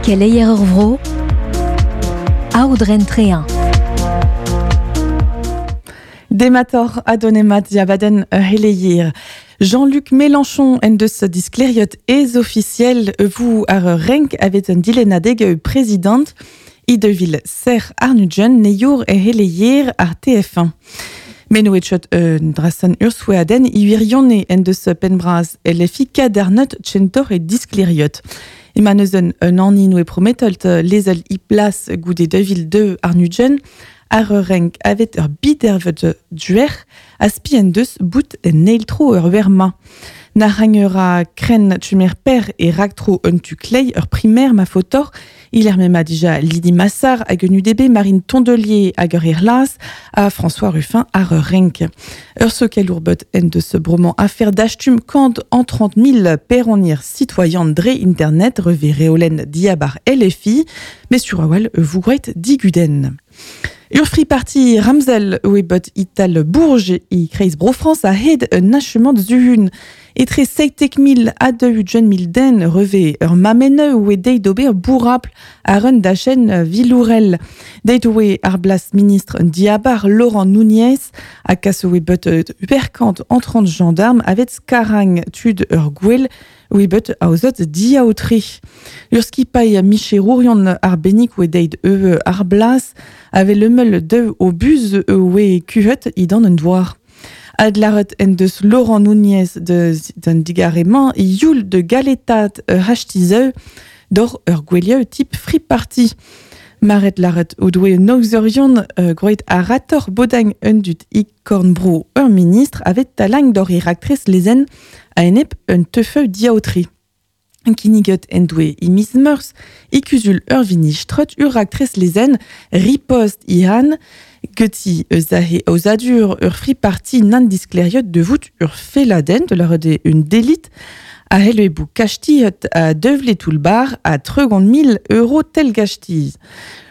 Keleier ur vro, Aodren Trehin. Demator adonemat diabadenn ur c'heleier. Jean-Luc Mélenchon en deus disklêriet ez ofisiel vous ar ur renk avet un dilennadeg prezidant i devil ser arnudjen neiour e c'heleier ar TF1. Meno etchot un drasan ursouaden i wirione en deus penbraz LFI kadarnot tchentor e disklêriot. Ema neuzen un anni noe prometolt lezel i plas goude 2002 arnudjen ar ur renk avet ur bidervet duer a spi en deus bout en eil-tro ur werma. Na ur a kren tumer per e raktro un tu klei ur primer ma fotor, il er mema dija Lydie Massard hag un UDB Marine Tondelier hag ur Irlas a François Ruffin ar ur renk. Ur sokel ourbet en deus broman affaire d'achtum kant en 30 000 peronir citoyen dre internet reve reolen diabar LFI, mais sur awel vous gret diguden. Ur free party Ramsel oe bot ital Bourge i kreiz Bro-France a hed un achement zuhun. Etre seitek mil a deux ugent mil den reve ur mamene oe deit d'ober bourrapl ar un dachen vilourel. Deit oe ar blas ministre diabar Laurent Nunez a kas oe bot uperkant entrant gendarme avet skarang tud ur gwell oe bet aozot diaotri. Ur skipailh micherourion ar benik oe deit eu ar blas ave lemel deu o buz oe kuhet idan un douar. Adlaret en deus Laurent Nunez de d'un digarement youl de galetat hachtizeu dor ur gwelieu type free party. Maret laret o doe noxerion groet a rator bodang un dut ikornbro ur ministre avet talang dor iraktres lezen a enep un teufeu diaotri. Kiniget en doe i mis meurs i kuzul ur vinistrot ur aktres lezen ripost ihan geti eus ahe aozadur ur free party nan diskleriot de vout ur feladen de leur de un délit a hel bou kachtiot a devle tout bar a tregont mil euro tel gachtiz.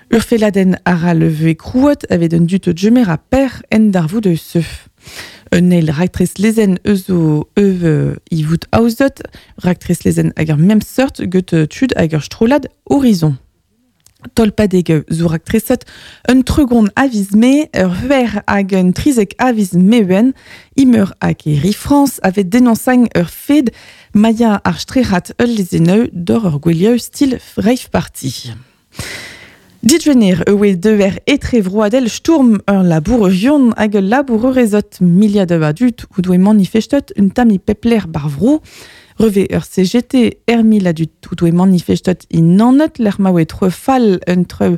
Ur feladen ara leve krouot avet un dut jemer a per en darvou de seuf. Un eil raktres lezen eus o euv i vout aozot, raktres lezen hag ur mem seurt get tud hag ur strolad horizon. Tolpadeg zo raktresot un tregon aviz me, ur huer hag un trizek aviz meuen, imeur hag e ri France avet dénonsang ur fed maya ar strerat ul lezeneu dor ur gwelieu stil rave party. Ditvener ewe deuer etre vroadel sturm ur labourerion hag ul labourerezot miliad a dut ou doe manifestot un tami pepler bar vro, reve ur CGT er mil a dut ou doe manifestot in nanot l'er maoe tre fall un treu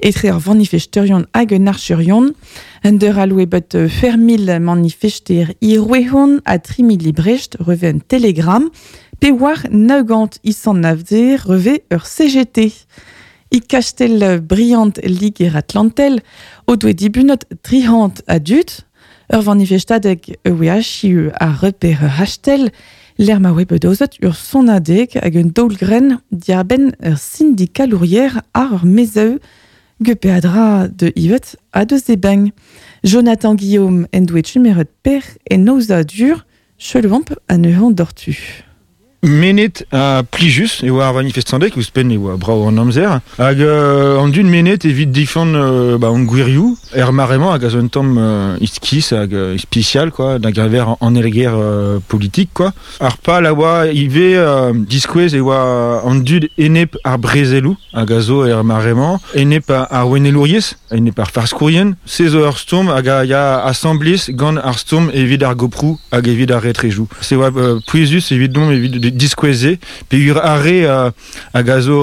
etre ur vanifesterion hag un archerion, un deur aloe bet fermil manifester i rouehon a trimil i Brecht reve un telegram, pe war naugant isan navder reve ur CGT. I kastel Briant Liger Atlantel o doe dibunot trihant a dut, ur vanifestadeg ewe achiu a reper hastel, l'er ma oe bedozot ur sonadeg hag un daolgren diarbenn ur syndikalourier ar ur mezeu ge de ivet a de zebeng. Jonathan Guillaume en doe chumeret per en dur, chelvamp a neuhan dortu. Menet a plijus e oa ar manifestandek, ouzhpenn e oa brao an amzer. Hag an dun menet evit difan ba, an gwirioù, er maremañ hag a zo un tamm iskis hag ispicial, quoi, da gaver an elger politik, quoi. Ar pal a oa ive diskouez e oa an dud enep ar brezelou, hag a zo er maremañ, enep ar wenelouriez, enep ar farskourien, se zo ur stourm hag a ya assemblez gant ar stourm evit ar goprou hag evit ar retrejou. Se oa pouezus evit dom evit diskoueze, pe ur arre hag a zo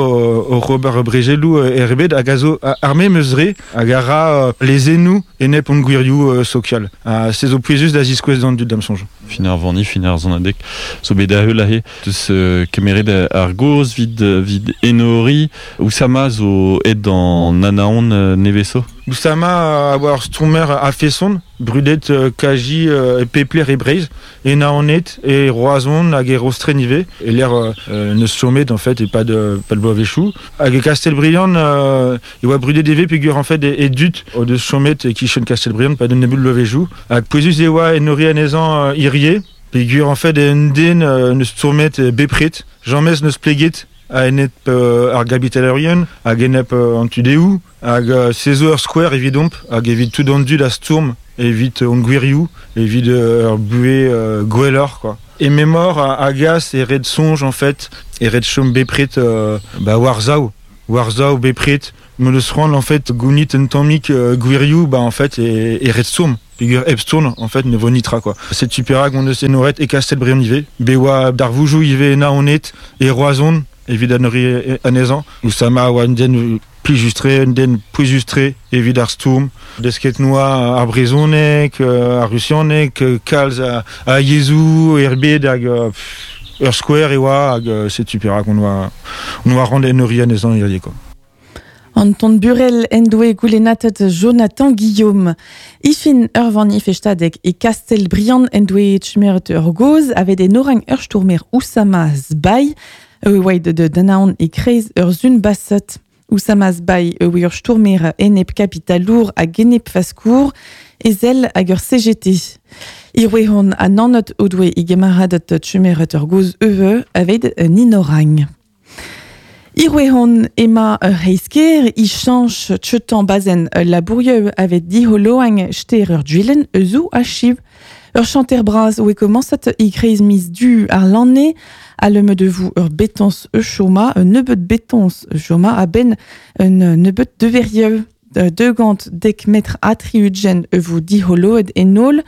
o Robert Bregelou erbet hag a zo arme meus re hag a ra lezennou enep on gwirioù sokial. Se zo pouezus da ziskouez d'an dud dam sonj. Fin ar vanni, fin ar zonadek, zo bet da heul ahe, deus kemeret ar goz vid, vid enori, Oussama zo ed an anaon neveso. Oussama a oa ur stourmer a feson, brudet kaji e pepler e Breiz, e naonet e roazon hag e rostren ive, e l'air neus chomet en fait e pas de pas de boavechou. Hag e Castelbriand e oa brudet eve peogwir en fait e dut o deus chomet e kichen Castelbriand pa d'un nebul boavechou. Hag pouezus e oa enori anezhañ irie, peogwir en fait e un den neus stourmet bepret, jamez neus pleget a enep ar gabitalerien, hag enep an tudeou, hag se zo ur skouer evidomp, hag evit tout an dud a stourm, evit hon gwirioù, evit ur buhez gwelloc'h, quoi. E memor a gas e red soñj en fait, e red chom bepred ba war-sav, war-sav bepred, m'o deus c'hoant en fait gounit un tammig gwirioù, ba en fait e red stourm. Peogwir hep stourm, en fait, ne vo nitra, quoi. Setu perak hon eus enoret e Kastell-Briant ivez, bet oa darvoudoù ivez e Naoned, e Roazhon, evit enoriñ anezhañ. Oussama a oa un den plijus-tre, un den pouezus-tre evit ar stourm. Desket noa ar brezhoneg, ar rusianeg, kalz a yezhoù er bed hag ur skouer e oa hag setu perak on oa rand enoriñ anezhañ hiziv, quoi. Anton Burel en doe goulennatet Jonathan Guillaume. Ifin ur vanifestadeg e Kastell-Briant en doe tchumeret ur goz avet enorang ur stourmer Oussama Sbai oa de danaon e kreiz ur zun basset. Oussama Sbai oa ur stourmer enep kapitalour hag enep faskour ezel hag ur CGT. Irwehon a nanot o doe e gemaradet tchumeret ur goz euve avet ninorang. Irwehon ema ur heisker i chanch tchetan bazen labourieu avet diholoang ster ur duilen euzou a chiv. Ur chanter braz oe komansat i kreiz mis du ar lanne a le de vous ur betons e choma, un nebeut betons e choma a ben un nebeut de verieu. De gant dek metr atriugen e vous diholoet enol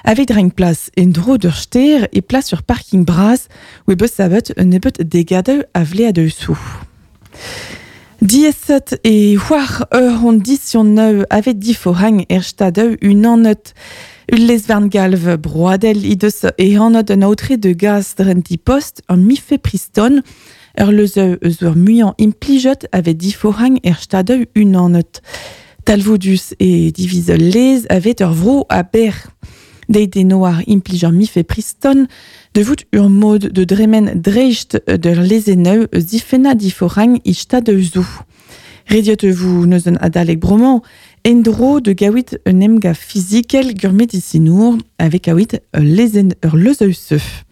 avec dreng plas en dro d'ur ster e plas sur parking braz oe beus savet un nebeut degade a vlea de sou. Dieset e c'hoar ur hon dision neu avet diforang er stadeu un annet. Ul lezvern galv broadel i deus e anot un aotre de gaz drenti post un mifepriston ur leuzeu eus ur muiañ implijet avet diforang er stadeu un annet. Talvoudus e diviz lez avet ur vro a ber. Deit e noar implij ur mifepriston de vout ur mod de dremen dreist d'ur lezeneu eus difenna diforang i stadeu zou. Rediot vous neus un adalek broman endro de gawit un emga fizikel gur medicinour avec awit lezen ur leuzeu seuf.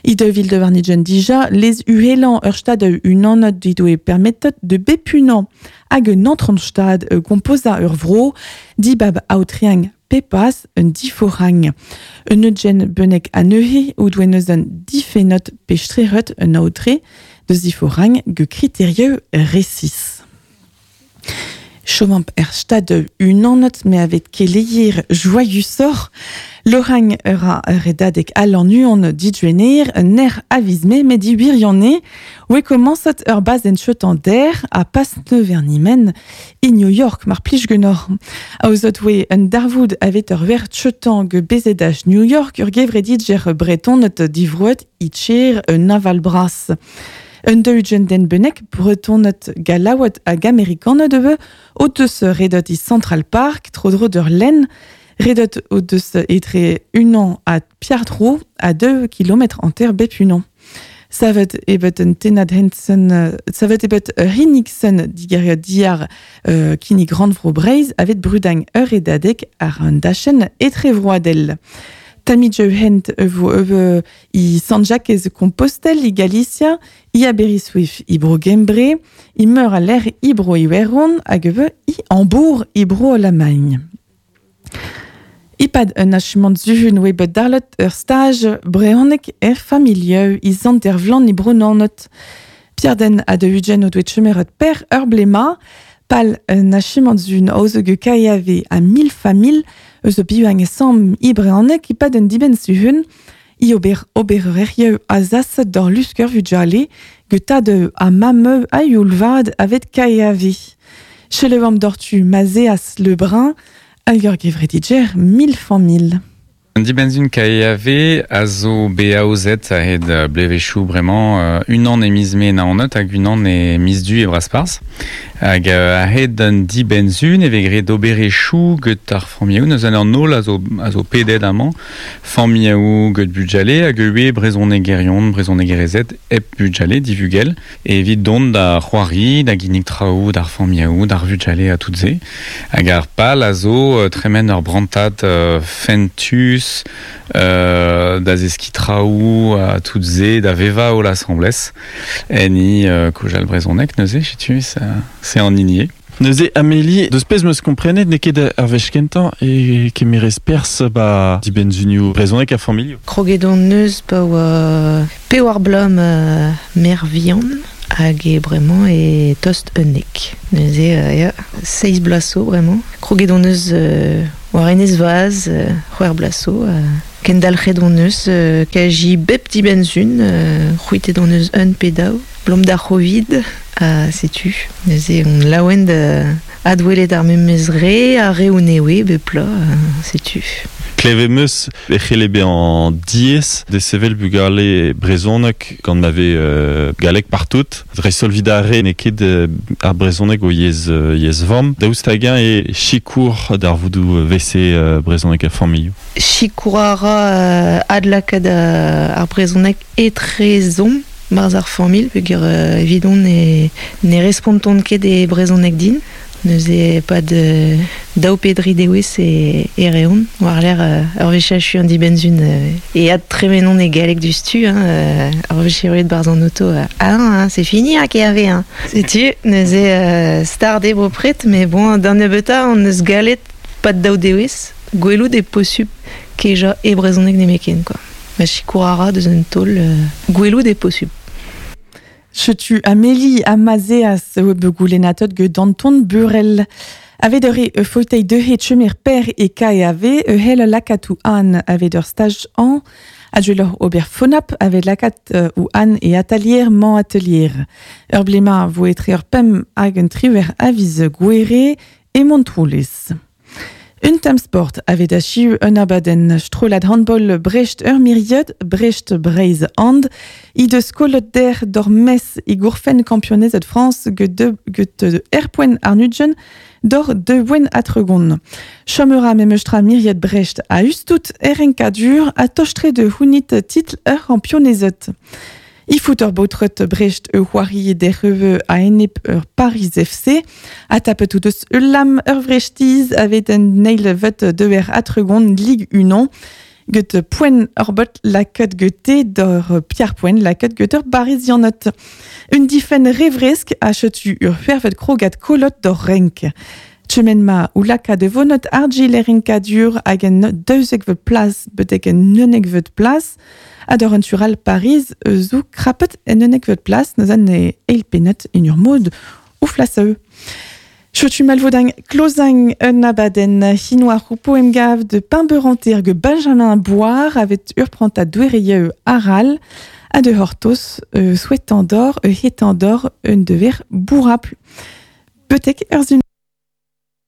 I de vil de varnigen dija, les uhelan ur stad un anot didoe permettet de bepunan hag un entranstad composa ur vro, dibab aotriang pepas un diforang. Un eugen benek aneuhe ou doe neus un difenot pestreret un aotre de diforang ge kriterieu resis. Chomamp er stad un anot me avet keleier joyusor. Lorang ur redadek al an uon didjuener ner avizme me di wirionne oe komansat ur baz en chetan der a pas vernimen e New York mar plij genor. Aozot oe un darvoud avet ur ver chetan ge bezedaj New York ur gevredidjer bretonet divroet itcher un naval bras. Un deugen den benek bretonet galawat hag amerikanet eve o deus redot i Central Park tro-dro d'ur len redot o deus etre unan a piardro a 2 km an ter bep unan. Savet ebet un tenad hensen, savet ebet Riniksen digeria diar kini grand vro breiz avet brudang ur redadek ar un dachen etre vroadel. Tamidjeu hent vo eve i San-Jacques Compostelle i Galicia, i Aberystwyth i bro Gembre, i meur a l'air i bro Iweron hag eve i Hambourg i bro Allemagne. Ipad un achumant zuhun oe bet darlet ur stage brehonek er familieu i zant er vlan i bro nanot. Pierden a de ugen o doet chemeret per ur blema, pal un achumant zun aoze ge KAV a mil famil eus o biuang e sam i brehonek ipad un diben zuhun i ober ober a zas d'or lusker vujale ge tad a mameu a youlvad avet KAV. Chelewam dortu mazeas le brun hag ur gevredidjer mil famil. Un dibenzun KAV a zo BAOZ a hed blevechou bremañ unan e miz me na anot hag unan e miz du e braspars. Hag a hed un dibenzun e vegre d'oberechou get ar familhaou neus an nol a zo pedet amañ familhaou get budjale hag ue brezhonegerion, brezhonegerezed hep budjale divugel e evit dont da c'hoari, da ginnig traoù, d'ar familhaou, d'ar vudjale a tout ze. Hag ar pal a zo tremen ur brantad fentus plijus da zeski traoù a tout ze da veva o l'assemblez eni kojal brezonek neuze setu c'est en inier. Neuze Amélie, deus pezh meus komprenet n'eo ket ar wech kentañ e kemerez perzh ba dibenzunioù brezonek a familhoù. Kroget on neus pa oa pewar bloaz ma mère vihan hag e bremañ e tost unnek. Neuze ya, seizh bloaz zo bremañ. Kroget on neus war enez vaz c'hwec'h bloaz zo. Kendalc'het on neus kaji bep dibenzun, c'hwitet on neus un pe daou, blom d'ar Covid, ha setu. Neuze on laouen da adwelet ar memes re, ar re on ewe bep pla, setu. Klevet meus e c'helle bezañ diaes desevel bugale brezhonek gant ma vez galleg partout. Dreist-holl evit ar re n'eo ket ar brezhoneg o yezh yezh vamm. Daoust hag-eñ e sikour darvoudoù vese brezhoneg a familhoù? Sikour a ra adlakaat ar brezhoneg etrezomp barzh ar familh peogwir evidon ne ne respontont ket e brezhoneg din. Neuze e-pad daou pe dri dewezh e e reont war-lerc'h ur wech achu an dibenn-sizhun e adtremenont e galleg diouzhtu hein, ur wech erruet barzh an oto ah hein, c'est fini hein, KRV hein. Setu neuze start eo bepred met bon d'an nebeutañ hon eus gallet pad daou dewezh gwelout eo posupl kejañ e brezhoneg nemetken quoi. Ma sikour a ra deus un taol gwelout eo posupl. Setu Amélie ha Mazeas oa bet goulennatet get Anton Burel. Avet ur e faotei deuet chemer per e KAV e hell lakaat ou an avet ur staj an a ober fonap avet lakaat ou an e atelier man atelier. Ur blema vo etre ur pem hag un triver aviz gouere e Montroulez. Un tamm sport avet achiu un abadenn strollad handball Brest ur miriad, Brest Breizh and, i deus kollet der d'ur mes e gourfenn kampionezed France get de, get erpoen ar nudjen d'or de wen atregon. Chomera memestra miriad Brest a ustout erenkadur a tostre de hounit titl ur kampionezed. I fout ur baotret Brest e c'hoari derreve a enep ur Paris FC, a tapet out eus ul lam ur vrestiz avet un neil vet deuer atregon Ligue 1 get poen ur bot laket gete d'ur Pierre Poen laket get ur Barisianot. Un difen revresk a chetu ur fervet krogat kolot d'ur renk. Chemen ma ou laka de vonot argil erinkadur hag en daouzekvet plas betek en unekvet plas a d'ur tural Paris zo krapet en unekvet plas neus an e eil penet en ur mod ou flaseu. Chotu malvodang klozang un abaden hinoa roupo emgav de Pimberanter ge Benjamin Boire avet ur pranta douereye aral a de hortos souhaitant d'or hetant d'or un dever bourrapl. Betek ur zun